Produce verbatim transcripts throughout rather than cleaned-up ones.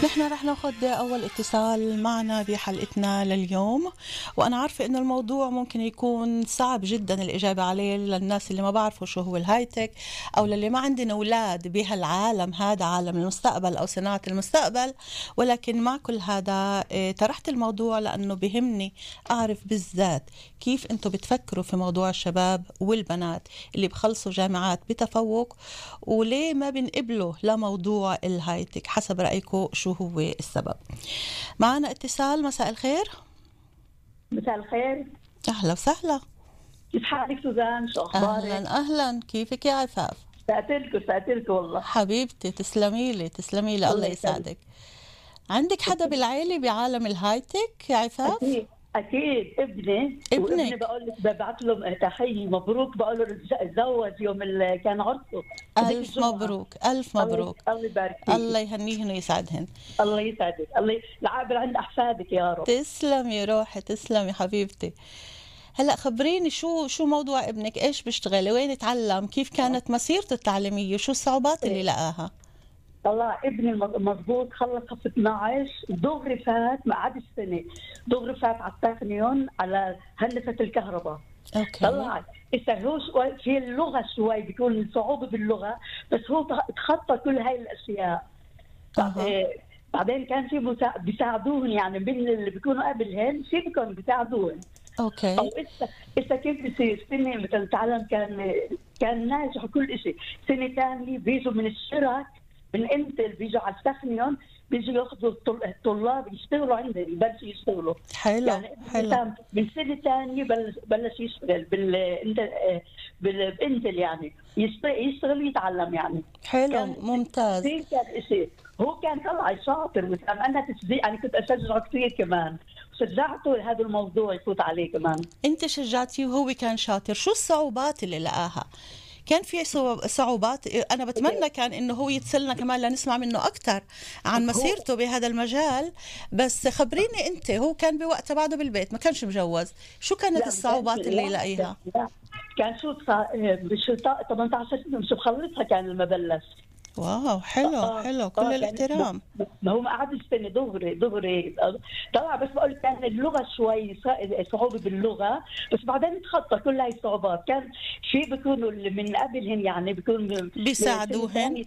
نحن رح ناخد أول اتصال معنا بحلقتنا لليوم، وأنا عارفة إنه الموضوع ممكن يكون صعب جدا الإجابة عليه للناس اللي ما بعرفوا شو هو الهايتك، أو للي ما عندنا أولاد بهالعالم هذا، عالم المستقبل أو صناعة المستقبل. ولكن مع كل هذا طرحت الموضوع لأنه بهمني أعرف بالذات كيف أنتوا بتفكروا في موضوع الشباب والبنات اللي بخلصوا جامعات بتفوق، وليه ما بنقبلوا لموضوع الهايتك. حسب رأيكم شو هو السبب؟ معنا اتصال. مساء الخير. مساء الخير. أهلا وسهلا. كيف حالك سوزان؟ شو أخبارك؟ أهلا أهلا، كيفك يا عفاف؟ سأتلكوا سأتلكوا والله حبيبتي، تسلمي لي تسلمي لي، الله يسعدك. عندك حدا بالعائلة بعالم الهايتك يا عفاف؟ أكيد أكيد ابني ابنك. وابني بقول لك ببعث له تحية مبروك، بقول له تزوج يوم اللي كان عرسه. ألف مبروك ألف مبروك. الله يبارك فيك. الله يهنيهن ويسعدهن. الله يسعدك. الله العابر عند أحفادك يا رب. تسلمي روحي، تسلمي حبيبتي. هلا خبريني شو شو موضوع ابنك، ايش بيشتغل، وين تعلم، كيف كانت مسيرته التعليمية، شو الصعوبات اللي لقاها؟ والله ابني مضبوط، خلص صف اثنعش دغري فات، ما عاد السنه دغري فات على التقنيون على هندسه الكهرباء. اوكي. طلع إذا هو شوي في اللغه، شوي بيكون صعوبه باللغه، بس هو تخطى كل هاي الاشياء. أه. بعدين كان في مسا... بيساعدوهم، يعني من اللي بيكونوا قبلهم في بيكونوا بيساعدوهم. اوكي. او إذا إذا كيف بيصير سنه مثلا تعلم، كان كان ناجح وكل شيء. سنه ثانيه بيجوا من الشرك من انتل، بيجوا على التخنيون، بيجوا ياخذوا الطلاب يشتغلوا عندهم، يبلشوا يشتغلوا. حلو يعني حلو. من سنه ثانيه بلش بلش يشتغل بال بالانتل، يعني يشتغل يشتغل يتعلم يعني. حلو ممتاز. كان شيء هو كان طلع شاطر، وكان انا تشجيع، انا كنت اشجعه كثير كمان، شجعته هذا الموضوع يفوت عليه كمان. انت شجعتيه وهو كان شاطر. شو الصعوبات اللي لقاها؟ كان في صعوبات؟ أنا بتمنى كان إنه هو يتصلنا كمان لنسمع منه أكتر عن مسيرته بهذا المجال. بس خبريني أنت، هو كان بوقتها بعده بالبيت، ما كانش مجوز، شو كانت الصعوبات اللي لاقيها؟ كان شو بشو ثمانية عشر سنة شو بخلصها كان لما بلش. واو حلو آه حلو، كل آه الاحترام. ما هو ما قعد السنه دغري دغري طلع، بس بقول كان اللغه شوي صعوبه باللغه، بس بعدين تخطى كل هاي الصعوبات. كان شيء بيكونوا من قبلهم، يعني بيكونوا بيساعدوهن.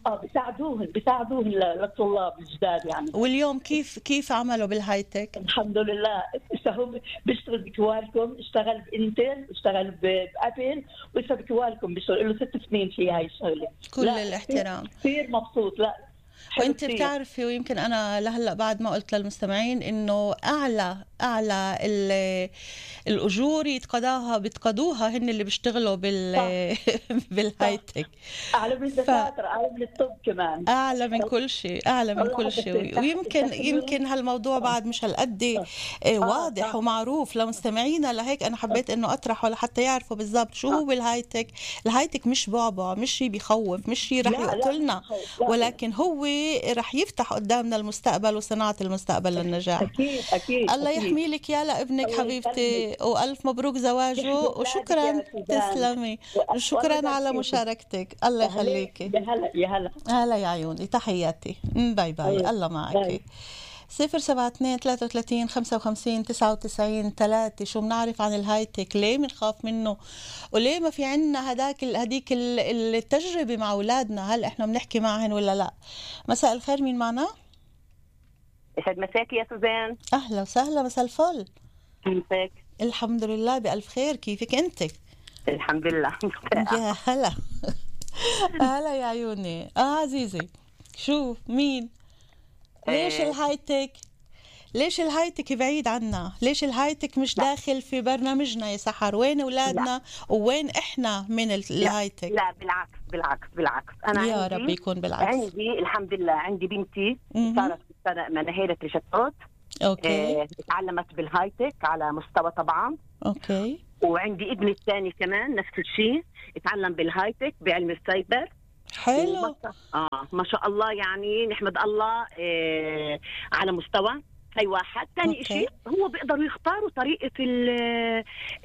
اه بيساعدوهن بيساعدوهن للطلاب الجداد يعني. واليوم كيف كيف عملوا بالهايتك؟ الحمد لله. هو بيشتغل بكوالكم، اشتغل بانتل، اشتغل بابل، ولسه بكوالكم بيشتغل له ست سنين في هاي الشغله. كل الاحترام. كثير مبسوط. لا وانت بتعرفي، ويمكن انا لهلا بعد ما قلت للمستمعين انه اعلى اعلى الاجور يتقاضاها بيتقاضوها هن اللي بيشتغلوا بال بالهايتك. اعلى من الدكاتره، اعلى من الطب كمان، اعلى من كل شيء، اعلى من كل شيء. ويمكن يمكن هالموضوع بعد مش هالقد واضح ومعروف لمستمعينا، لهيك انا حبيت انه اطرحه لحتى يعرفوا بالضبط شو هو الهايتك. الهايتك مش بعبع، مش شيء بيخوف، مش شيء رح يقتلنا، ولكن هو رح يفتح قدامنا المستقبل وصناعة المستقبل للنجاح. أكيد أكيد. الله يحمي لك يا لابنك حبيبتي، وألف مبروك زواجه، وشكرا. تسلمي، وشكرا على مشاركتك. الله يخليكي. يا هلا يا هلا هلا يا عيوني، تحياتي، باي باي. الله معك. صفر سبعة اثنين ثلاثة وثلاثين خمسة وخمسين تسعة وتسعين ثلاثة. شو بنعرف عن الهايتك؟ ليه بنخاف منه؟ وليه ما في عنا هداك هديك التجربة مع أولادنا؟ هل إحنا بنحكي معهن ولا لا؟ مساء الخير، مين معنا؟ يسعد مساكي يا سوزان. أهلا وسهلا، مساء الفل. كيفك؟ الحمد لله بألف خير، كيفك أنت؟ الحمد لله. يا هلا. هلا يا عيوني. آه عزيزي، شو مين؟ ليش الهايتك؟ ليش الهايتك بعيد عنا؟ ليش الهايتك مش لا. داخل في برنامجنا يا سحر؟ وين أولادنا ووين إحنا من الهايتك؟ لا, لا بالعكس بالعكس بالعكس. أنا يا رب يكون بالعكس. عندي الحمد لله، عندي بنتي صارت في سنة مناهيرة رشاتات. أوكي. اه تعلمت بالهايتك على مستوى طبعا. أوكي. وعندي ابني الثاني كمان نفس الشيء، اتعلم بالهايتك بعلم السايبر. حلو. اه ما شاء الله، يعني نحمد الله آه على مستوى. هاي واحد. ثاني شيء هو بيقدروا يختاروا طريقة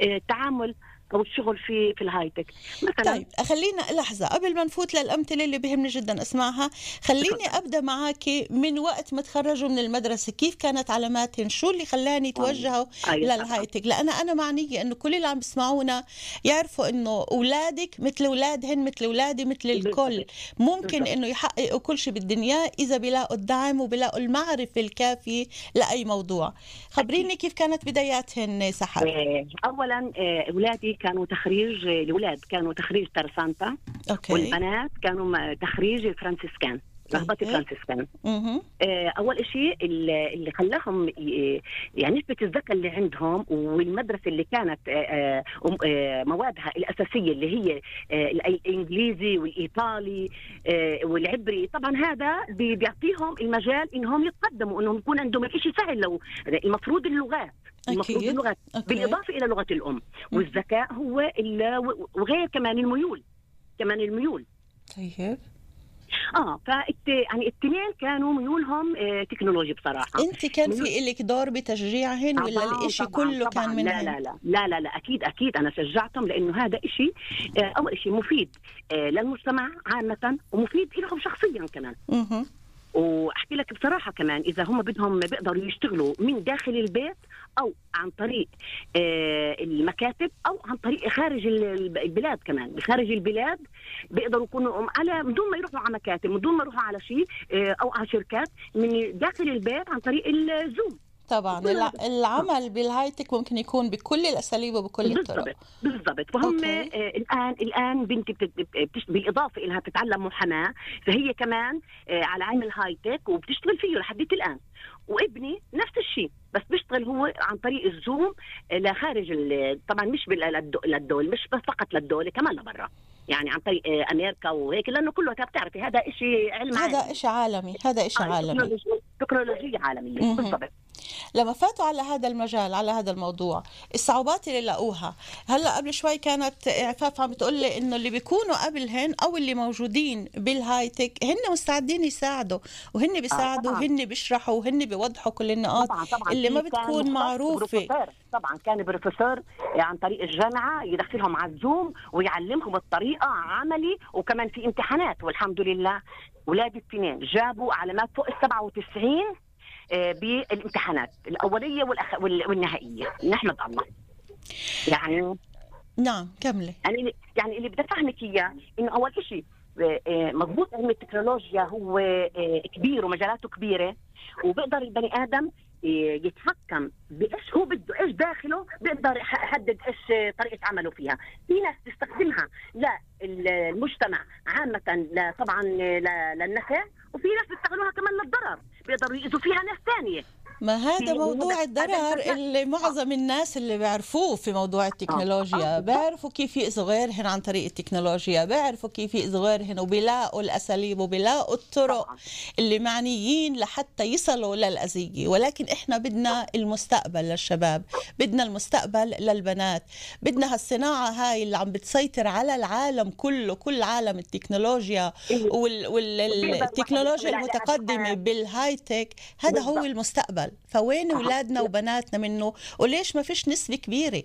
التعامل او الشغل في في الهايتك مثلا. طيب خلينا لحظة قبل ما نفوت للأمثلة اللي بيهمني جدا أسمعها، خليني أبدأ معك من وقت ما تخرجوا من المدرسة، كيف كانت علاماتهم؟ شو اللي خلاني توجهوا للهايتك؟ لأن أنا معنية إنه كل اللي عم بسمعونا يعرفوا إنه أولادك مثل أولادهن مثل أولادي مثل الكل، ممكن إنه يحققوا كل شيء بالدنيا إذا بيلاقوا الدعم وبيلاقوا المعرفة الكافية لأي موضوع. خبريني كيف كانت بداياتهن سحر؟ أولا أولادي كانوا تخريج، الأولاد كانوا تخريج ترسانتا، أوكي. والبنات كانوا تخريج الفرنسيسكان، رغبات الفرنسيسكان. أول شيء اللي خلاهم يعني نسبة الذكاء اللي عندهم والمدرسة اللي كانت موادها الأساسية اللي هي الإنجليزي والإيطالي والعبري، طبعا هذا بيعطيهم المجال إنهم يتقدموا، إنهم يكون عندهم الشيء سهل. لو المفروض اللغات المفروض اللغات بالإضافة إلى لغة الأم، والذكاء هو وغير كمان الميول، كمان الميول. طيب. اه فالت يعني الاثنين كانوا ميولهم اه تكنولوجي بصراحه. انت كان ميول... في لك دور بتشجيعهن ولا الاشي كله طبعاً كان منهن؟ لا لا لا لا لا لا اكيد اكيد انا شجعتهم، لانه هذا اشي اه اول شيء مفيد اه للمجتمع عامه، ومفيد لهم شخصيا كمان. اها واحكي لك بصراحه كمان، اذا هم بدهم بيقدروا يشتغلوا من داخل البيت او عن طريق آه المكاتب او عن طريق خارج البلاد، كمان خارج البلاد بيقدروا يكونوا على من دون ما يروحوا على مكاتب، من دون ما يروحوا على شيء آه او على شركات، من داخل البيت عن طريق الزوم. طبعا العمل بالهايتك ممكن يكون بكل الاساليب وبكل الطرق. بالضبط. فهم آه الان الان بنتي بتش... بالاضافه الها بتتعلم محاماه، فهي كمان آه على علم الهايتك وبتشتغل فيه لحد الان. وابني نفس الشيء، بس بيشتغل هو عن طريق الزوم لخارج طبعا مش للدول، مش بس فقط للدول، كمان لبرا، يعني عن طريق امريكا وهيك، لانه كله بتعرفي هذا شيء علم هذا عالمي. شيء عالمي، هذا شيء آه عالمي، تكنولوجيا عالميه. بالضبط. لما فاتوا على هذا المجال، على هذا الموضوع، الصعوبات اللي لقوها، هلا قبل شوي كانت عفاف عم بتقول لي انه اللي بيكونوا قبلهن او اللي موجودين بالهايتك هن مستعدين يساعدوا، وهن بيساعدوا، وهن بيشرحوا، وهن بيوضحوا كل النقاط طبعاً طبعاً اللي ما بتكون معروفه. طبعا كان بروفيسور عن طريق الجامعه يدخلهم على الزوم ويعلمهم الطريقه عملي، وكمان في امتحانات. والحمد لله ولادي الاثنين جابوا علامات فوق السبعة وتسعين بالامتحانات الأولية والأخ... والنهائية، نحمد الله. يعني نعم كملي. يعني يعني اللي بدي أفهمك إياه إنه أول شيء مضبوط علم التكنولوجيا هو كبير ومجالاته كبيرة، وبقدر البني آدم يتحكم بإيش هو بده، إيش داخله، بيقدر يحدد إيش طريقة عمله فيها. في ناس تستخدمها للمجتمع عامة، طبعا للنفع، وفي ناس بيستخدموها كمان للضرر، بيقدروا يأذوا فيها ناس ثانية. ما هذا موضوع الضرر اللي معظم الناس اللي بيعرفوه في موضوع التكنولوجيا، بيعرفوا كيف يأذوا غيرهن عن طريق التكنولوجيا، بيعرفوا كيف يأذوا غيرهن، وبيلاقوا الأساليب وبيلاقوا الطرق اللي معنيين لحتى يصلوا للأذية. ولكن إحنا بدنا المستقبل للشباب، بدنا المستقبل للبنات، بدنا هالصناعة هاي اللي عم بتسيطر على العالم كله، كل عالم التكنولوجيا والتكنولوجيا المتقدمة بالهايتك، هذا هو المستقبل. فوين أولادنا وبناتنا منه؟ وليش ما فيش نسبة كبيرة؟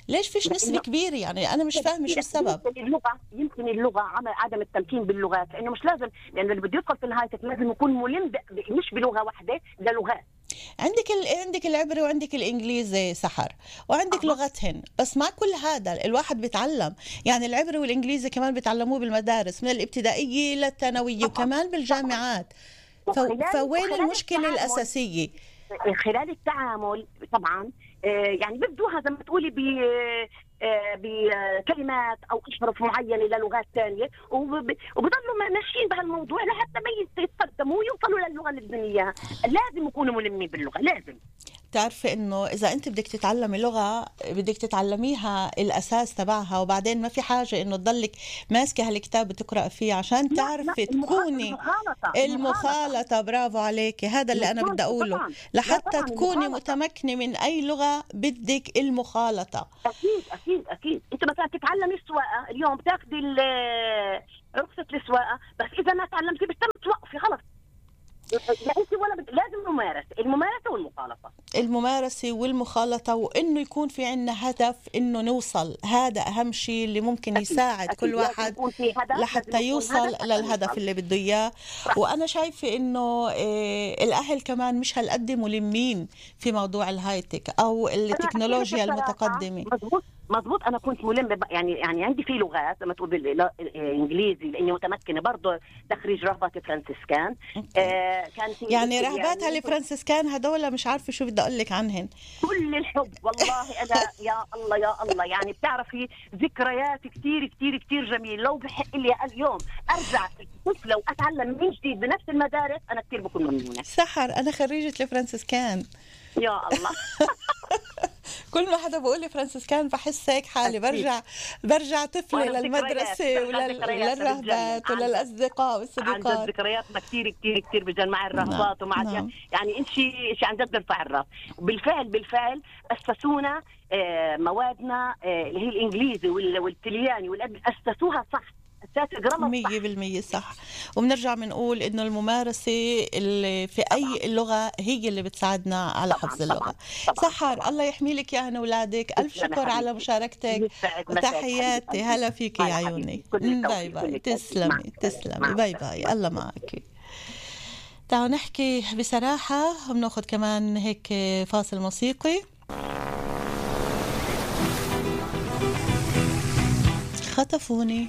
ليش فيش نسبة كبيرة؟ يعني أنا مش فاهمة شو السبب. يمكن اللغة، يمكن اللغة عدم التمكين باللغات، لأنه مش لازم، لأنه اللي بده يدخل في الهايتك لازم يكون ملم مش بلغة واحدة، ده لغات. عندك ال... عندك العبري وعندك الإنجليزي سحر، وعندك أه. لغتهن، بس مع كل هذا الواحد بيتعلم، يعني العبري والإنجليزي كمان بيتعلموه بالمدارس من الابتدائية للثانوية وكمان بالجامعات. ف... فوين المشكلة الأساسية؟ خلال التعامل طبعا يعني بيبدوها زي ما تقولي ب بكلمات او احرف معينه للغات ثانيه، وبضلوا ماشيين بهالموضوع لحتى ما يتقدموا ويوصلوا للغه اللي بدهم اياها. لازم يكونوا ملمين باللغه، لازم. تعرفي انه اذا انت بدك تتعلمي لغه بدك تتعلميها الاساس تبعها، وبعدين ما في حاجه انه تضلك ماسكه هالكتاب بتقرا فيه عشان تعرفي تكوني المخالطه, المخالطة. برافو عليكي، هذا اللي انا بدي اقوله. لحتى تكوني متمكنه من اي لغه بدك المخالطه. اكيد اكيد اكيد. انت مثلا تتعلمي السواقه اليوم، بتاخذي رخصه السواقه، بس اذا ما تعلمتي بتم توقفي خلص. لا انت ولا بد... لازم ممارسه، الممارسه والمخالطه، الممارسه والمخالطه، وانه يكون في عنا هدف انه نوصل. هذا اهم شيء اللي ممكن أكيد. يساعد أكيد. كل واحد لحتى يوصل للهدف اللي بده اياه. وانا شايفه انه إيه الاهل كمان مش هالقد ملمين في موضوع الهايتك او التكنولوجيا المتقدمه. مزبوط مزبوط. انا كنت ملمه يعني يعني عندي في لغات لما تقول بالانجليزي لاني متمكنه برضه تخريج رهبات فرانسيسكان. آه كان في يعني رهباتها يعني الفرانسيسكان هدول مش عارفه شو بدي اقول لك عنهن. كل الحب والله. انا يا الله يا الله يعني بتعرفي ذكريات كثير كثير كثير جميل. لو بحق لي اليوم ارجع طفله واتعلم من جديد بنفس المدارس انا كثير بكون ممنونه. سحر انا خريجه الفرانسيسكان. يا الله. كل ما حدا بقول لي فرانسيسكان بحس هيك حالي برجع برجع طفله للمدرسه وللرهبات وللاصدقاء والصديقات. عن ذكرياتنا كثير كثير كثير بجد مع الرهبات ومع نعم. يعني انت شيء عن جد بيرفع الراس. بالفعل بالفعل اسسونا موادنا اللي هي الانجليزي والتلياني والادبي اسسوها صح مية بالمية صح. وبنرجع بنقول إنه الممارسة اللي في أي لغة هي اللي بتساعدنا على حفظ اللغة. سحر الله يحمي لك يا هنا أولادك. ألف شكر على مشاركتك وتحياتي. هلا فيك يا عيوني. باي باي. تسلمي تسلمي. باي باي. الله معك. تعالوا نحكي بصراحة. بناخد كمان هيك فاصل موسيقي. خطفوني.